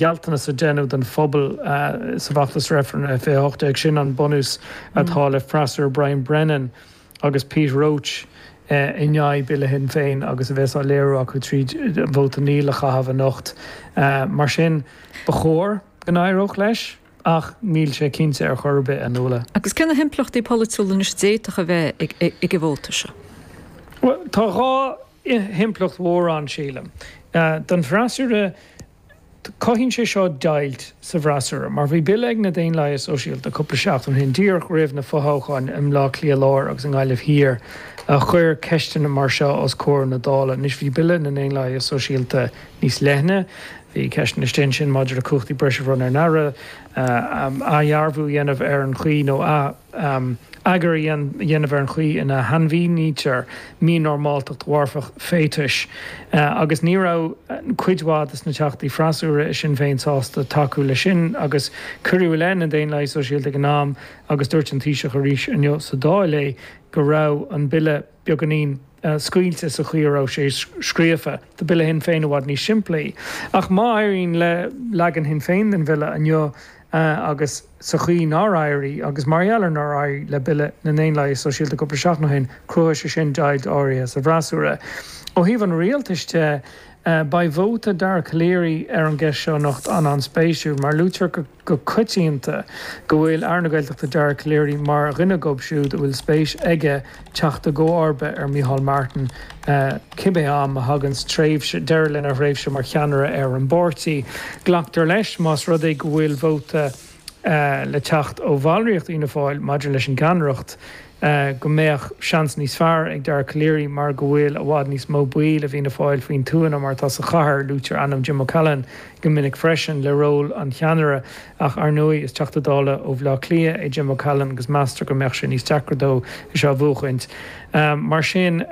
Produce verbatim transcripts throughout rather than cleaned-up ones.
Gealltanas a deineadh don phobal sa bhfeachtas reifrinn fiche a hocht déag, sin an bunús atá le freasúra Brian Brennan agus Pete Roche in aghaidh Bille Shinn Féin agus a bheas á léiriú acu tríd vóta 'Níl' a chaitheamh anocht. Mar sin, ba chóir go n-éireodh leis ach níl sé cinnte ar chor ar bith, a Nuala. Agus cé na himpleachtaí polaitiúla anois a d'fhéadfadh a bheith ag an vóta seo? Bhuel, tá dhá himpleacht mhór ann, sílim. Don bhfreasúra, cothaíonn sé seo deighilt sa bhfreasúra, mar bhí bille ag na Daonlathaithe Sóisialta cúpla seachtain ó shin, díreach roimh na fothoghcháin i mBleá Cliath Láir agus i nGaillimh Thiar, a chuir ceisteanna mar seo os comhair na Dála. Anois bhí bille na nDaonlathaithe Sóisialta níos leithne, bhí ceisteanna istigh ansin maidir le cumhachtaí breise a bhronnadh ar an Aire, athdhearbhú a dhéanamh ar an chaoi nó eagar a dhéanamh ar an chaoi ina shainmhínítear mínormáltacht mharfach féatais agus ní raibh cuid mhaith de na Teachtaí freasúra i Sinn Féin sásta tacú leis sin agus cuireadh i leith na Daonlathaithe Sóisialta ag an am agus dúirt an Taoiseach arís inniu sa Dáil é go raibh an bille beagáinín scaoilte sa chaoi a raibh sé scríofa. Tá bille Shinn Féin i bhfad níos simplí. Ach má éiríonn le leagan Shinn Féin den bhille inniu agus sa chaoi nár éirigh, agus mar gheall ar nár éirigh le bille na nDaonlathaithe Sóisialta cúpla seachtain ó shin, cruthóidh sé sin deighilt áirithe sa bhfreasúra. Ó thaobh an rialtais de, beidh vóta Dara Calleary ar an gceist seo anocht an-an-spéisiúil, mar luaitear go. go coitianta go bhfuil Aire na Gaeltachta Dara Calleary mar dhuine acu siúd a bhfuil spéis aige teacht i gcomharba ar Micheál Martin cibé am a thagann tréimhse deireadh lena thréimhse mar cheannaire ar an bpáirtí. Glactar leis, más rud é go bhfuil vóta le teacht ó bhallraíocht Fhianna Fáil maidir leis an gceannaireacht, go mbeadh seans níos fearr ag Dara Calleary mar go bhfuil i bhfad níos mó baill i bhFianna Fáil faoin tuath ná mar atá sa chathair. Luaitear ainm Jim O'Callaghan go minic freisin le ról an cheannaire ach ar ndóigh is Teachta Dála ó Bhaile Átha Cliath é Jim O'Callaghan agus meastar go mbeadh sé níos deacra dó é seo a bhuachaint. Mar sin.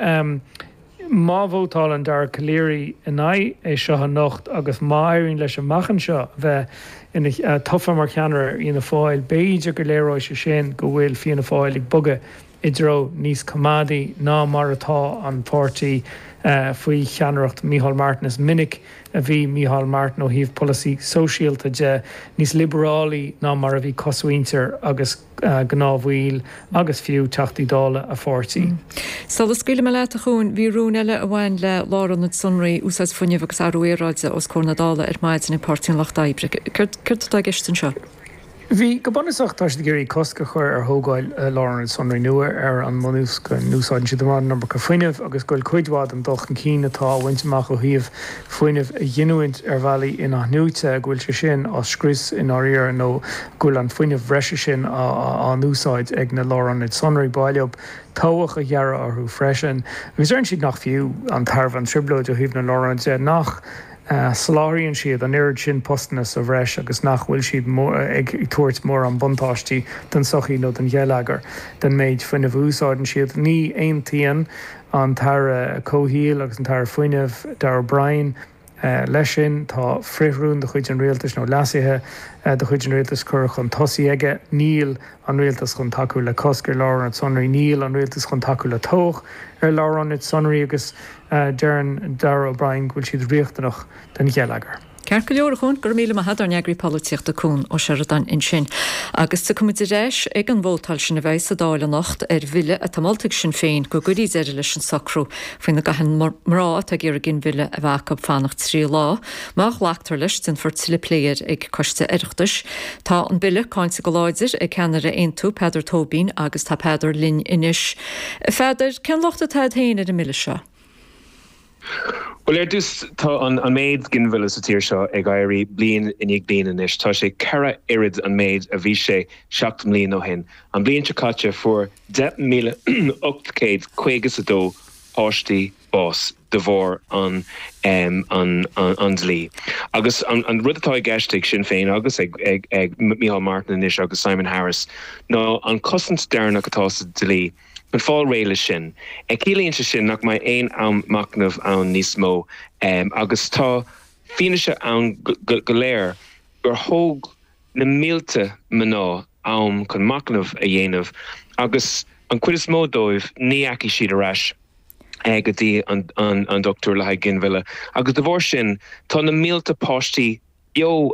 Má vótálann Dara Calleary in aghaidh é seo anocht agus má éiríonn leis amach anseo a bheith ina tofa mar cheannaire ar Fhianna Fáil, b'fhéidir go léireoidh sé sin go bhfuil Fianna Fáil ag bogadh i dtreo níos coimeádaí ná mar atá an páirtí faoi cheannaireacht Micheál Martin. Is minic a bhí Micheál Martin ó thaobh polasaí sóisialta de níos liobarálaí ná mar a bhí cosmhuintir agus gnáthbhaill agus fiú Teachtaí Dála a pháirtí. Sula scaoilfidh mé leat, a Chuain, bhí rún eile a bhain le lárionaid sonraí, úsáid fuinnimh agus athrú aeráide os comhair na Dála ar maidin ag Páirtí an Lucht Oibre. Céard atá i gceist anseo? Bhí, go bunúsach, tá siad ag iarraidh cosc a chur ar thógáil lárionad sonraí nua ar an mbunús go n-úsáideann siad an iomarca fuinnimh agus go bhfuil cuid mhaith den dul chun cinn atá á bhaint amach ó thaobh fuinneamh a ghiniúint ar bhealaí in-athnuaite, go bhfuil sé sin á scrios i ndáiríre nó go bhfuil an fuinneamh breise sin á n-úsáid ag na lárionaid sonraí. Ba mhaith leo tobhach a ghearradh orthu freisin agus deireann siad nach fiú an tairbhe an trioblóid ó thaobh na lárionad de, nach. soláthraíonn siad an oiread sin postanna sa bhreis agus nach bhfuil siad ag tabhairt mórán buntáistí don tsochaí nó don gheilleagar den méid fuinnimh a úsáideann siad. Ní aontaíonn an tAire Comhshaoil agus an tAire Fuinnimh, Darragh O'Brien, leis sin. Tá frithrún de chuid an rialtais nó leasuithe de chuid an rialtais curtha chun tosaigh aige. Níl an rialtas chun tacú le cosc ar lárionaid sonraí. Níl an rialtas chun tacú le tobhach ar lárionaid sonraí agus deireann Darragh O'Brien go bhfuil siad riachtanach don gheilleagar. Ceart go leor, a Chuain, go raibh míle maith agat, ár n-eagraí polaitíochta Cuan Ó Seireadáin ansin. Agus tiocfaidh muid ar ais ag an vótáil sin a bheidh sa Dáil anocht ar bhille atá molta ag Sinn Féin go gcuirfí deireadh leis an socrú faoina gcaitheann mná atá ag iarraidh ginmhilleadh a bheith acu fanacht trí lá. Má ghlactar leis, déanfar tuilleadh plé air ag Coiste Oireachtais. Tá an bille cáinte go láidir ag ceannaire Aontú, Peadar Tóibín, agus tá Peadar linn anois. A Pheadair, cén locht atá agat féin ar an mbille seo? Bhuel, ar dtús, tá an méid ginmhilleadh sa tír seo ag éirí bliain i ndiaidh bliana anois. Tá sé ceithre oiread an méid a bhí sé seacht mbliana ó shin. An bhliain seo caite fuair deich míle ocht gcéad caoga is a dó páistí bás de bharr an an dlí. Agus an rud atá i gceist ag Sinn Féin agus ag ag Micheál Martin anois agus Simon Harris ná an cosaint deireanach atá sa dlí, Chun fáil réidh leis sin. Ciallaíonn sé sin nach mbeidh aon am machnaimh ann níos mó agus tá fianaise ann go léir gur thóg na mílte mná am chun machnamh a dhéanamh agus an chuid is mó dóibh ní dheachaigh siad ar ais go dtí an dochtúir le haghaidh ginmhilleadh agus de bharr sin tá na mílte páistí beo